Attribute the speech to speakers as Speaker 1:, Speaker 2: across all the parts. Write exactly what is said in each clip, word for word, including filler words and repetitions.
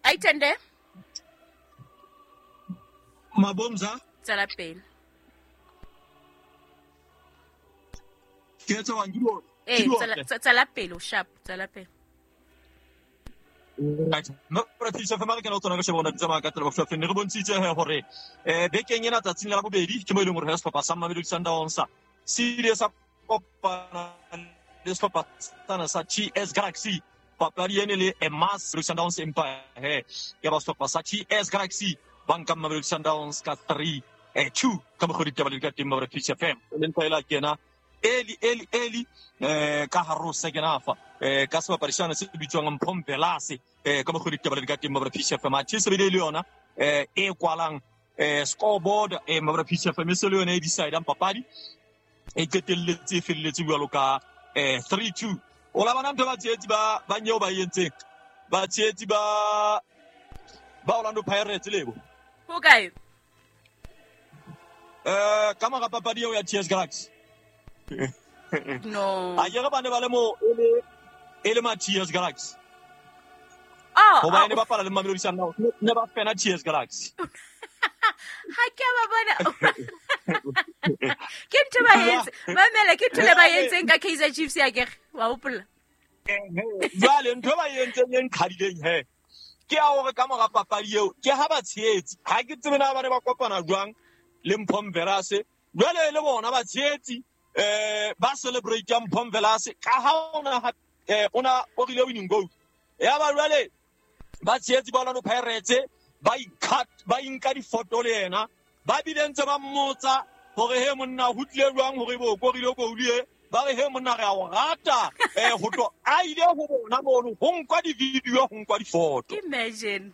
Speaker 1: Aitende
Speaker 2: Mabomza
Speaker 1: tsela pele
Speaker 2: ke tsa wa ngilo
Speaker 1: eh tsela tsela pele o sharp tsela pele
Speaker 2: right no practice fa mara ke no tsona ka shebona tsamaya ka tsela bofe ne re bontshitse he hore eh bekeng ena tsatsing la bobedi ke mo e leng hore ha sehlopha sa Mamelodi Sundowns se ile sa kopana le sehlopha sana sa T S Galaxy papadi ene le Emas Sundowns Empire he ya ba sehlopha sa T S Galaxy ba nka Mamelodi Sundowns ka three eh two ka mokgwa ditaba le ka teng ba P C F M le ntho ela kena eli eli eli eh ka haro second half eh ka sebapadi sena se bitswang Mphompelase eh ka mokgwa ditaba le ka teng ba P C F M a se bile le yona eh e kwalang eh scoreboard eh ba P C F M se le yona e decide papadi e qetelletse e felletse jwalo ka eh three two o la bana ntho ba tshehetsi ba ba nyeo ba entseng ba tshehetsi ba ba Orlando Pirates lebo
Speaker 1: ho kae
Speaker 2: eh ka mora papadi eo ya T S Galaxy
Speaker 1: no
Speaker 2: a ke re bane ba le mo e le e le ma T S Galaxy
Speaker 1: oh
Speaker 2: ho ba ne ba bapala le Mamelodi Sundowns ne ba fena T S Galaxy
Speaker 1: ha ke ba bona ke ntho ba entse mamela ke ntho le ba entseng ka Kaizer Chiefs ya ke wa hopola
Speaker 2: jwale ntho ba entseng e nqhadileng he ke ya hore ka mora papadi eo ke ha ba tshehetsi ha ke tsebe na ba ne ba kopana jwang le Mphompelase jwale le bona ba tshehetsi eh ba celebrate Mphompelase ka ha ona eh ona o rile winning goal ya ba jwale ba tshehetsi ba Orlando Pirates ba ikhat ba inka difoto le yena ba bile ntse ba mmotsa hore he monna ho tlile jwang hore bo korile goal e ba re he monna re a o rata eh ho tlo a ile ho bona mono ho nkwa di-video ho nkwa difoto
Speaker 1: imagine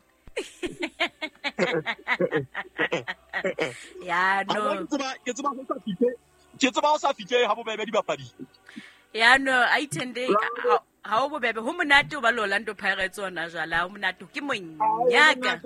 Speaker 1: ya no
Speaker 2: ke tseba ho sa fihle ke tseba ho sa fihle ha bobebe dibapadi
Speaker 1: ya no aitende ha o bobebe ho monate o ba le Orlando Pirates ona jwala ho monate ke monyaka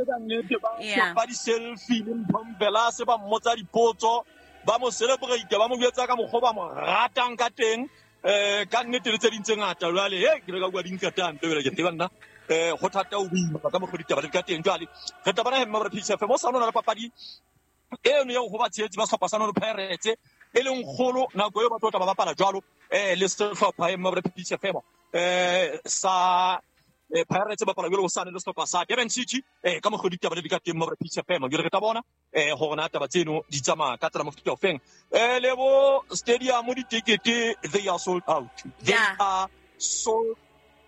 Speaker 2: ya ba di selfie le Mphompelase ba mmotsa dipotso ba mo celebrate ba mo jwetsa ka mokgwa ba mo ratang ka teng eh ka nnete le tse ding tse ngata jwale he ke re ka bua dinkatang pele ke tseba nna eh ho thata o boima ka mokgwa ditaba le ka teng jwale re tla bona he mma P C F mo sa nona le papadi eno eo ho ba tshehetsi ba sehlopha sa Orlando Pirates e leng kgolo nako eo ba tlo tla ba bapala jwalo eh le sehlopha e mma P C F eh sa eh Pirates bapala jwalo sa le sehlopha sa Durban City eh ka mokgwa ditaba le di ka teng mma P C F jwale re tla bona eh hore na taba tseno di tsamaya ka tsela mofuta ofeng eh lebo stadium ditikete they are sold out they
Speaker 1: yeah.
Speaker 2: are sold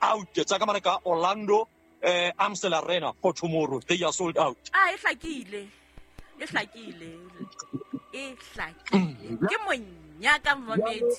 Speaker 2: out tsa ka mane ka Orlando eh Amstel Arena for tomorrow they are sold out
Speaker 1: ah e hlakile e hlakile e hlakile ke monyaka mmamedi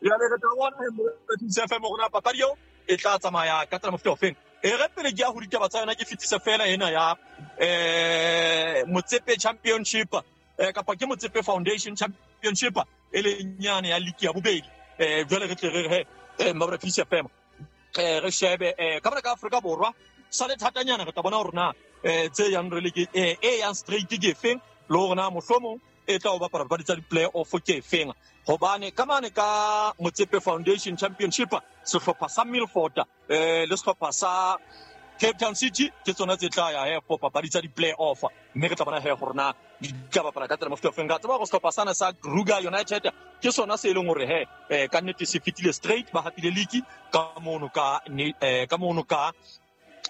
Speaker 2: ya le tla bona he P C F M rona papadi eo e tla tsamaya ka tsela mofuta ofeng e re pele ke ya ho ditaba tsa yona ke fetise fela ena ya eh Motsepe Championship eh kapa ke Motsepe Foundation Championship e le nyane ya league ya bobedi eh jwale re tle re re eh mabra P C F M eh re shebe eh ka bana ka Afrika Borwa sa le thatanyana re tla bona hore na eh tse yang re le ke eh e yang straight ke efeng le hore na mohlomong e tla o bapala papadi tsa di-play off ke efeng hobane ka mane ka Motsepe Foundation Championship sehlopha sa Milford eh le sehlopha sa Cape Town City ke tsona tse tla ya he for papadi tsa di-play off mme re tla bona he hore na di tla bapala ka tsela mofuta ofeng ka tseba hore sehlopha sana sa Kruger United ke sona se e leng hore he eh, ka nnete se fetile straight ba hapile league ka mono ka eh, ka mono ka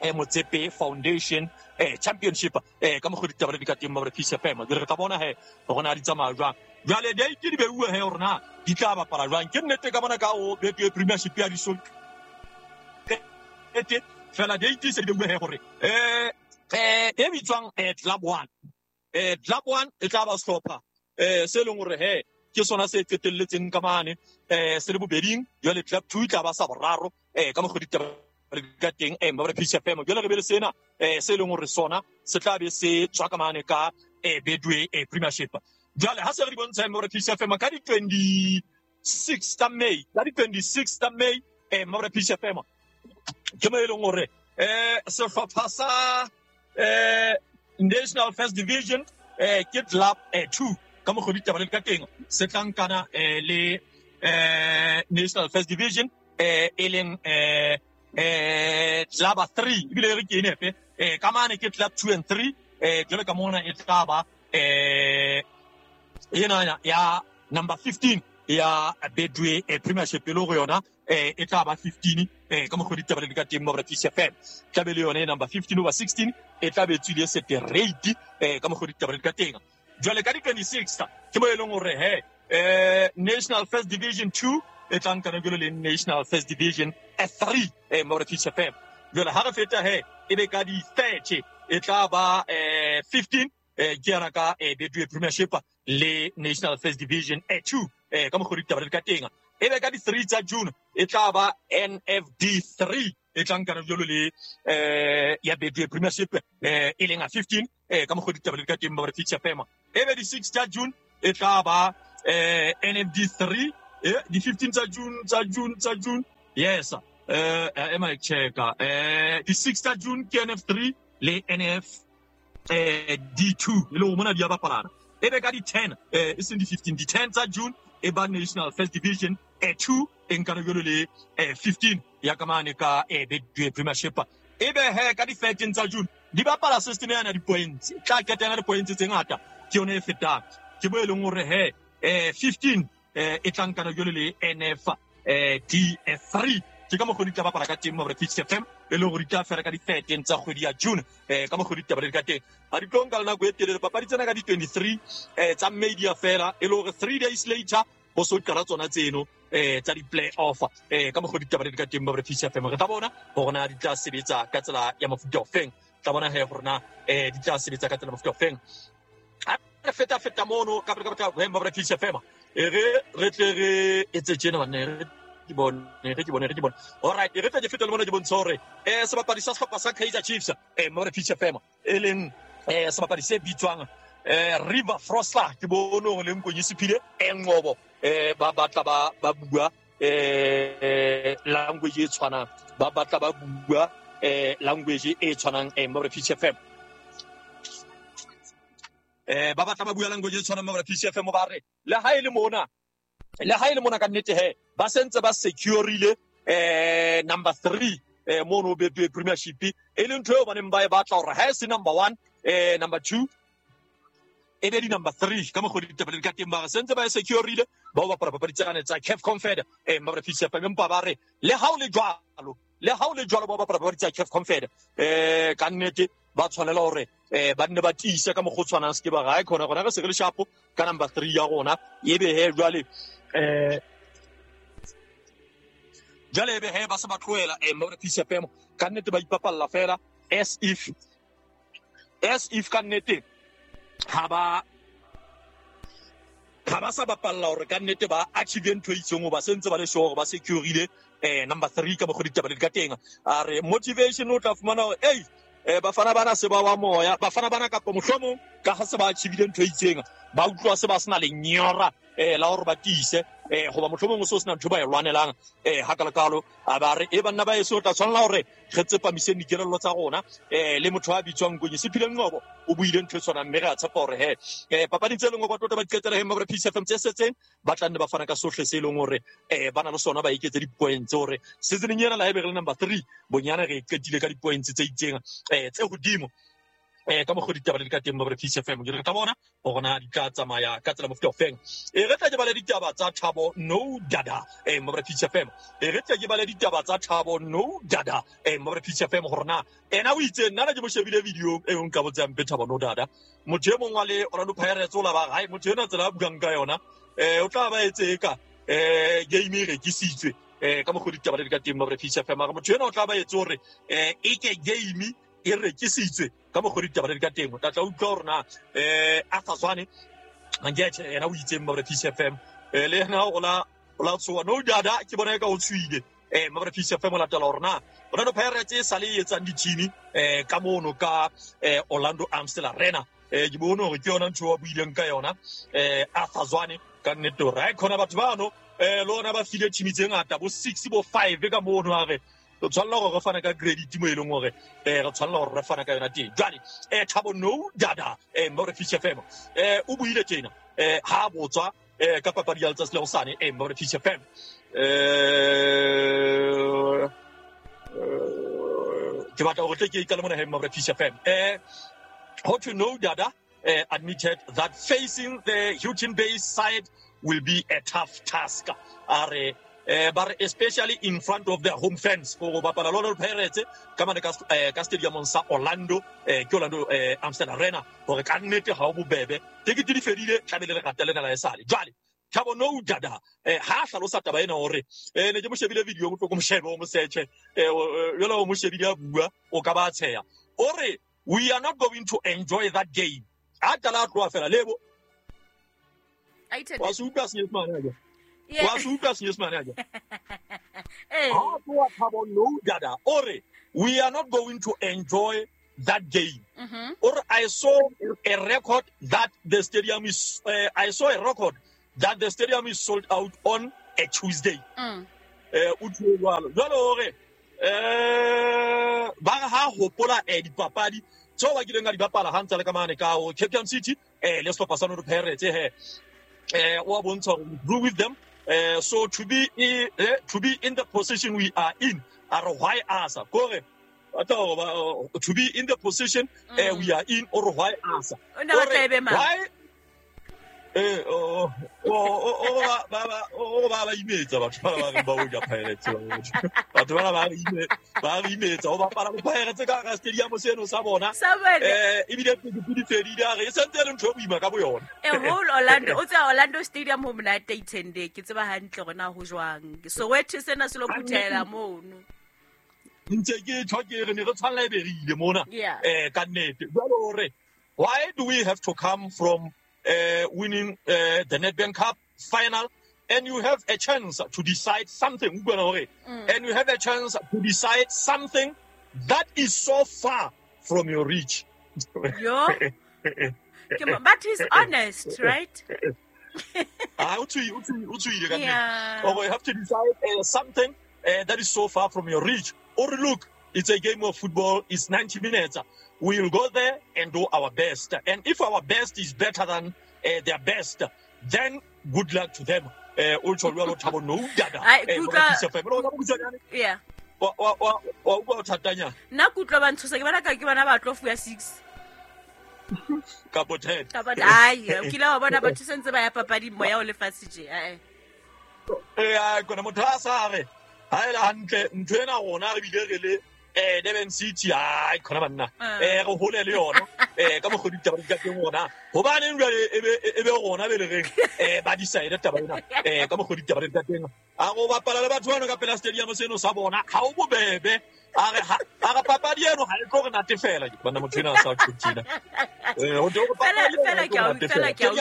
Speaker 2: eh Motsepe Foundation eh Championship eh ka mokgwa ditaba di ka teng ba P C F M re tla bona he hore na di tsamaya jwang jwale date di beuwe he hore na di tla bapala jwang ke nnete ka bona ka o Betway Premiership ya di ete fela date se di beuwe he hore eh eh e bitswang eh Club One eh Club One e tla ba sehlopha eh se leng hore he ke sona se qetelletseng ka mane eh se le bobeding jwale Club Two e tla ba sa boraro eh ka mokgwa ditaba ka teng eh mabra P C F M jwale re be le sena eh se leng hore sona se tla be se tswa ka mane ka eh Betway eh Premiership jwale ha se re di bontsha mabra P C F M ka di twenty-six tsa May ka di twenty-six tsa May eh mabra P C F M ke mo e leng hore eh sehlopha sa eh National First Division eh ke Club eh two ka mokgwa ditaba le ka teng se tla nkana eh le eh National First Division eh e leng eh eh club three ebile re ke enepe eh ka mane ke club two and three eh jwale ka mona e tla ba eh ena ya number fifteen ya Betway e Premiership e le go yona eh e tla ba fifteen eh ka mokgwa ditaba di ka teng mo Peace F M tla be le yone number fifteen over sixteen e tla be tswile seterate eh ka mokgwa ditaba di ka teng. Jwale ka di twenty-six ke mo e leng hore he eh National First Division two e tla nka jwale le National First Division three eh mo Peace F M. Jwale ha re feta he e be ka di thirty e tla ba eh fifteen eh ke yana ka eh Betway Premiership le National First Division two eh ka mokgwa ditaba di ka teng. E be ka di three tsa June e tla ba N F D three e tla nka jwalo le eh ya Betway Premiership eh e leng a fifteen eh ka mokgwa ditaba di ka teng ba re Peace F M. E be di six tsa June e tla ba eh N F D three eh di fifteen tsa June tsa June tsa June yes eh ema checka eh di six tsa June ke N F three le N F eh D two e le ho mona di a bapalana. E be ka di ten eh e seng di fifteen di ten tsa June e ba National First Division eh two e nka jwalo le eh fifteen ya ka mane ka eh Betway Premiership. E be he ka di thirteen tsa June di bapala system ya na di points tla ketela di points tse ngata ke yone e fetang ke bo e leng hore he eh fifteen eh e tla nka jwalo le N F eh D three ke ka mokgwa di tla bapala ka teng mo Peace F M e le hore di tla fela ka di thirteen tsa kgwedi ya June eh ka mokgwa ditaba di ka teng. Ha di tlo nka le nako e telele papadi tsena ka di twenty-three eh tsa May di a fela e le hore three days later ho so qala tsona tseno eh tsa di play off eh ka mokgwa ditaba di ka teng mo Peace F M. Re tla bona hore na di tla sebetsa ka tsela ya mofuta o feng, tla bona he hore na eh di tla sebetsa ka tsela mofuta o feng. Ha re feta feta mono ka ka ka mo Peace F M e re re tle re etse tjena bana re ke bone re ke bone re ke bone. All right, re tla ke feta le mona ke bontsha hore eh sebapadi sa sehlopha sa Kaizer Chiefs eh mo Peace F M e leng eh sebapadi se bitswang eh River Frosler ke bone hore le Nkonyi Siphile Ngcobo eh ba batla ba ba bua eh language e tshwanang ba batla ba bua eh language e tshwanang eh mo Peace F M eh ba batla ba bua language e tshwanang mo Peace F M ba re le ha e le mona le ha e le mona ka nnete he ba sentse ba secureile eh number three eh mono Betway Premiership e leng ntho eo ba neng ba e batla hore ha e se number one eh number two e be di number three ka mokgwa ditaba di ka teng ba re sentse ba e secureile ba o bapala papadi tsane tsa C A F Confed eh ba re Peace F M empa ba re le ha o le jwalo le ha o le jwalo ba bapala papadi tsa C A F Confed eh ka nnete ba tshwanela hore eh ba nne ba tiise ka mokgwa o tshwanang se ke ba ga e khona gona re se re le shapo ka number three ya rona e be he jwale eh jwale ebe he ba se ba tlohela eh mo Peace F M ka nnete ba ipapalla fela as if as if ka nnete ha ba ha ba sa bapalla hore ka nnete ba achieve ntho e itseng ba sentse ba le sure hore ba secureile eh number three ka mokgwa ditaba di ka teng. A re motivation o tla fumana hore ei eh bafana bana se ba wa moya bafana bana kapa mohlomong ka ha se ba achievile ntho e itseng ba utlwa se ba sena lenyora eh la hore ba tiise eh hoba mohlomong o so sena ntho ba e lwanelang eh ha kalakalo a ba re e banna ba eso tla tshwanela hore re tsepamise dikelello tsa rona eh le motho a bitswang Nkonyi Siphile Ngcobo o buile ntho e tshwanang mme re a tshepa hore he eh papading tse leng hore ba tota ba qetela he mo Peace F M tse setseng ba tla nne ba fana ka sohle se leng hore eh ba na le sona ba iketse di-points hore seasoneng ena la ebe re le number three bonyane re qetile ka di-points tse itseng eh tse hodimo eh ka mokgwa ditaba di ka teng mo Peace F M. Ke re tla bona hore na di tla tsamaya ka tsela mofuta o feng. E re tla ke bale ditaba tsa Thabo No Dada eh mo Peace F M. E re tla ke bale ditaba tsa Thabo No Dada eh mo Peace F M hore na ena o itse nna na ke mo shebile video e nka botsang pe Thabo No Dada motho e mong wa le Orlando Pirates o la ba hai motho ena tsela a buang ka yona eh o tla ba etse ka eh game e rekisitswe eh ka mokgwa ditaba di ka teng mo Peace F M. Mara motho ena o tla ba etse hore eh e ke game e rekisitswe ka mokgwa ditaba di ka teng. O tla tla utlwa hore na eh Arthur Zwane Mangethe yena o itseng mo Peace F M eh le yena o la o la tshoa No Dada ke bona e ka o tswile eh mo Peace F M o latela hore na Orlando Pirates e sale e etsang di-team eh ka mono ka eh Orlando Amstel Arena eh ke bone hore ke yona ntho a buileng ka yona eh Arthur Zwane ka nnete hore ha khona batho bano eh le ona ba file team tse ngata bo six bo five ka mono a re re tshwanela hore re fane ka credit mo e leng hore eh re tshwanela hore re fane ka yona teng. Jwale eh Thabo No Dada eh mo Peace F M eh o buile tjena eh ha botswa eh ka papadi ya letsatsi la hosane eh mo Peace F M eh Ke batla hore tle ke ikale mona he Mabra Peace F M. Eh how to know Dada uh, admitted that facing the Houghton-based side will be a tough task. Are eh but especially in front of their home fans go bapala Orlando Pirates ka mane ka ka stadium sa Orlando eh ke Orlando eh Amsterdam Arena hore ka nnete ha o bobebe tekete di fedile tlamehile le ratele na la esale jwale Thabo no Dada eh ha hlalosa taba ena hore eh ne ke mo shebile video mo tlo mo shebe o mo search eh jwale o mo shebile a bua o ka ba tsheya o re we are not going to enjoy that game a tala tloa fela lebo wa se utlwa senyesemane ake wa se utlwa senyesemane ake ha tloa Thabo no Dada o re we are not going to enjoy that game. Mm-hmm. Or I saw a record that the stadium is uh, I saw a record that the stadium is sold out on a Tuesday. Mm. Eh o jwalo jwalo hore eh ba ha hopola eh dipapadi tseo ba kileng ka di bapala ha ntse le ka mane ka o Cape Town City eh le sehlopha sa Orlando Pirates he eh o bontsha hore we grew with them eh so to be eh, to be in the position we are in are why us kore to be in the position mm. uh, we are in or why us why eh oh oh oh ba ba o ba ba imetsa batho ba ba ba o ja Pirates batho ba ba ime ba imetsa o bapala Pirates ka ka stadium seno sa bona eh ebile di fedile a re e sentse le ntho e boima ka bo yona
Speaker 1: e whole Orlando o tsa Orlando Stadium ho monate itende ke tseba hantle rona ho jwang Soweto sena se lo phuthela mono
Speaker 2: ntse ke tho ke re ne re tshwanela e berile mona eh ka nnete jwale hore why do we have to come from Uh, winning uh, the Nedbank Cup final, and you have a chance to decide something. Mm. And you have a chance to decide something that is so far from your reach.
Speaker 1: Yo, but he's honest, right?
Speaker 2: Ah, yeah. Or you have to decide uh, something uh, that is so far from your reach. Or look, it's a game of football. It's ninety minutes. We will go there and do our best. And if our best is better than uh, their best, then good luck to them. Yeah.
Speaker 1: Nna kutlwa ba ntshosa ke bona ka ke bona ba tlo fuya six.
Speaker 2: Kapo ten.
Speaker 1: Kapo ai, o kile wa bona batho sentse ba ya papading moya o lefatshe tje. Eh.
Speaker 2: Eh, kona motho a sa re ha ela hantle ntho ena rona re bile re le eh Durban City ai khona banna eh re hole le yona eh ka mogodi taba di ka teng rona hobaneng jwale e be e be rona be le reng eh ba decide taba ena eh ka mogodi taba di ka teng a go bapala le batho bano ka pela stadium seno sa bona ha o bobebe a re a re papadi eno ha e tlo re natefela ke bana motho ena sa tshutshina eh ho tlo
Speaker 1: papadi fela ke a fela ke a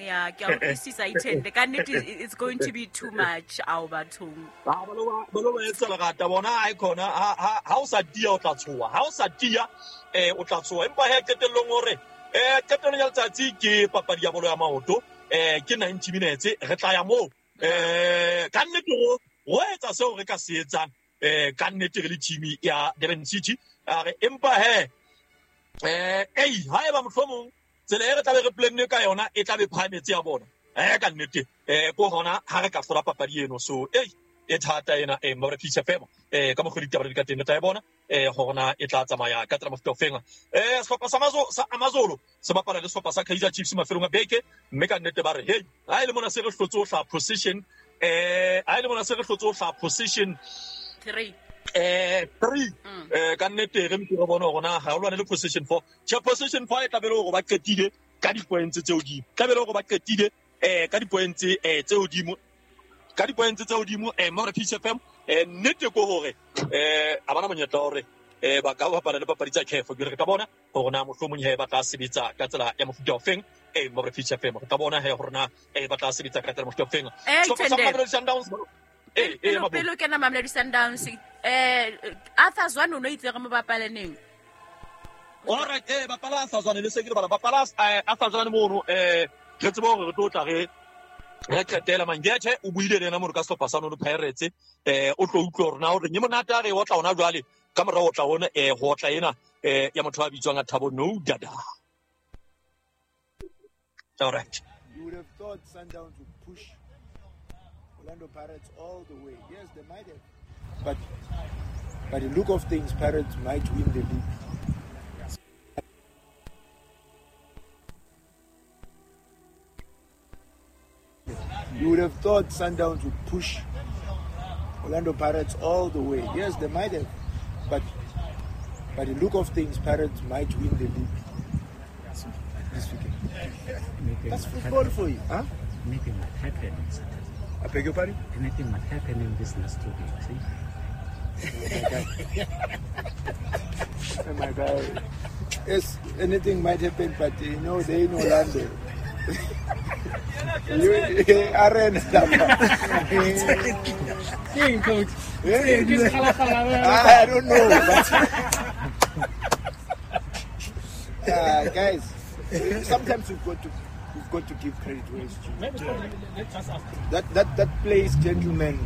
Speaker 1: yeah ke a utlwisisa itende ka nnete it's going to be too much ao bathong
Speaker 2: ba ba lo ba lo etsa lerata bona ai khona ha ha o sa tia o tla tshoa ha o sa tia eh o tla tshoa empa he qetellong hore eh qetellong ya letsatsi ke papadi ya bolo ya maoto eh ke ninety minutes re tla ya moo eh ka nnete go go etsa seo re ka se etsang eh ka nnete re le team ya Durban City a re empa he eh ei ha eba mohlomong tsela e re tla be re planne ka yona e tla be phahametse ya bona eh ka nnete eh ko hona ha re ka hlola papadi eno so ei e thata ena e Mabra Peace F M eh ka mogodi taba di ka teng tla e bona eh hona e tla tsamaya ka tsela mofuta ofeng eh sehlopha sa Amazo sa Amazolo se bapala le sehlopha sa Kaizer Chiefs mafelong a beke mme ka nnete ba re hey ha ile mona se re hlotse o hla position eh ha ile mona se re hlotse o hla position
Speaker 1: three
Speaker 2: eh three eh ka nnete re mpe re bona hore ha o lwane le position four che position four e tla be le hore ba qetile ka di points tse hodimo tla be le hore ba qetile eh ka di points eh tse hodimo ka di points tse hodimo eh Mabra Peace F M eh nnete ko hore eh a bana monyetla hore eh ba ka bapala le papadi tsa C A F ke re ka bona hore na mohlomong he ba tla sebetsa ka tsela ya mofuta ofeng eh Mabra Peace F M re ka bona he hore na eh ba tla sebetsa ka tsela mofuta ofeng
Speaker 1: so sa Mamelodi Sundowns eh eh pelo kena Mamelodi Sundowns eh Arthur Zwane o no itse re mo bapale neng.
Speaker 2: All right eh bapala Arthur Zwane le se ke bala bapala Arthur Zwane mono eh re tsebe hore re tlo tla re re qetela Mangethe o buile le yena mo re ka sehlopha sa Orlando Pirates eh o tlo utlwa hore na hore nye monate a re o tla hona jwale ka morao o tla hona eh ho tla ena eh ya motho a bitswang Thabo No Dada. All right.
Speaker 3: You would have thought Sundowns would push Orlando Pirates all the way. Yes, they might have. But by the look of things, Pirates might win the league. You would have thought Sundowns would push Orlando Pirates all the way. Yes, they might have. But by the look of things, Pirates might win the league this weekend.
Speaker 4: Anything
Speaker 3: That's
Speaker 4: might
Speaker 3: football
Speaker 4: happen.
Speaker 3: for you. Huh?
Speaker 4: Anything might happen on Saturday.
Speaker 3: I beg your pardon?
Speaker 4: Anything might happen in this last two games. Eh?
Speaker 3: Oh my God. Yes, anything might happen, but you know, they in Orlando. You Arena.
Speaker 5: King, coach.
Speaker 3: I don't know. But uh, guys, sometimes we've got to we've got to give credit where it's due.
Speaker 5: Maybe let's just ask.
Speaker 3: That that that place, gentlemen.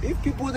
Speaker 3: If people there